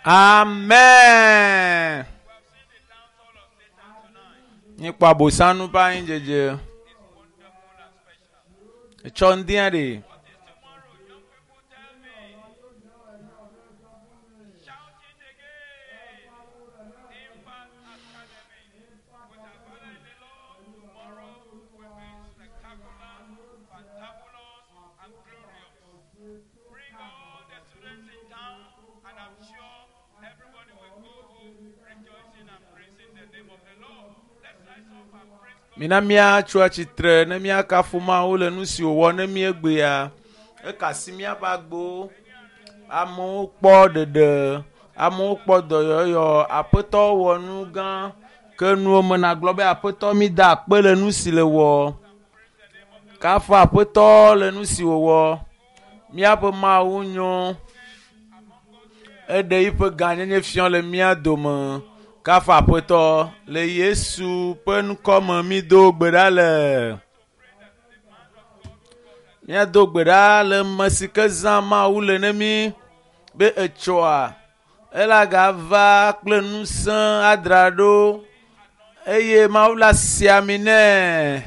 Amen. Míekpɔ abosanu ƒe anyidzedze. Etsɔ ŋdia ɖe. Mina míatso atsitre ne míakafu Mawu le nu si wòwɔ ne míegbea. Eka asi míaƒe agbowo. Amewo kpɔ ɖeɖe, amewo kpɔ dɔyɔyɔ. Aƒetɔ wɔ nu gã ke nuwo me nagblɔ be aƒetɔ mi da akpe le nu si le wɔ. Kafu aƒetɔ le nu si wòwɔ. Míaƒe Mawu nyo. Eɖe yiƒe gãnyenye fiɔ le mía dome. Kafu aƒetɔ le Yesu ƒe ŋkɔ me mído gbe ɖa le. Míado gbe ɖa le ame si ke zã Mawu le ne mí be etsɔa ela gava kple ŋusẽ adra ɖo eye Mawu la si ami nɛ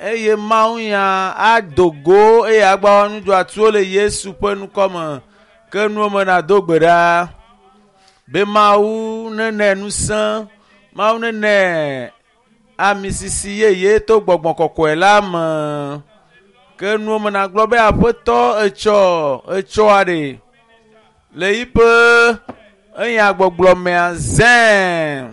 eye Mawu nya ado go eye agba nudzɔatsuwo le Yesu ƒe ŋkɔ me ke nuwo me nado gbe ɖa be Mawu nene ŋusẽ Mawu nene ami sisi yeye to gbɔgbɔ kɔkɔe la me ke nuwo me nagblɔ be aƒetɔ etsɔ etsɔa ɖe le yiƒe eya gbɔgblɔ mea zẽ.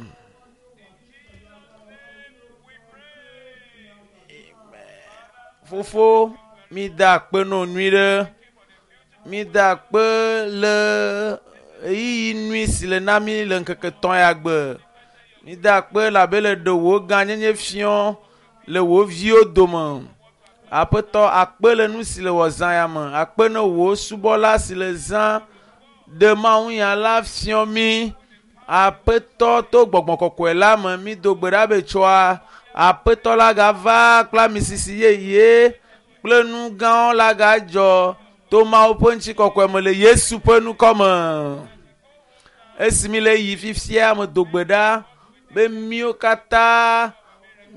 Fofo mi da akpe nɔ nyui ɖe mi da akpe le ɣeyiɣi nyui si le na mi le ŋkeke tɔ̃ ya gbe. Mi da akpe labe le ɖe wò gãnyenye fiɔ le wò viwo dome. Aƒetɔ akpe le nu si le wɔ zã ya me. Akpe ne wò subɔla si le zã ɖe Mawu nya la fiɔ mí. Aƒetɔ to gbɔgbɔ kɔkɔe la me mi do gbe ɖa be tsɔa aƒetɔ la gava kple ami sisi yeye kple nu gãwo la gadzɔ to Mawu ƒe ŋutikɔkɔe me le Yesu ƒe ŋkɔ me. Esi mi le yi fifia me do gbe ɖa be míwo katã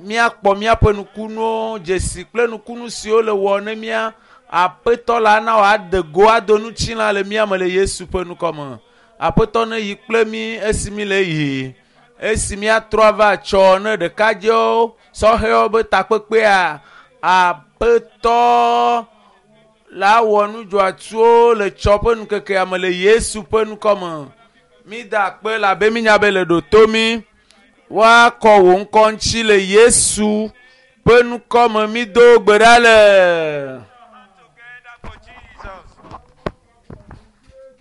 míakpɔ míaƒe nukunuwo dzesi kple nukunu siwo le wɔ ne mía aƒetɔ la na wòade go ado ŋutilã le mía me le Yesu ƒe ŋkɔ me. Aƒetɔ ne yi kple mí esi mi le yi esi míatrɔ ava tsɔ ne ɖekadzewo sɔhɛwo be takpekpea aƒetɔ la wɔ nudzɔatsuwo le tsɔ ƒe ŋkekea me le Yesu ƒe ŋkɔ me. Mi da akpe labe mínya be le ɖo to mí. Woakɔ wò ŋkɔ ŋuti le Yesu ƒe ŋkɔ me mído gbe ɖa le.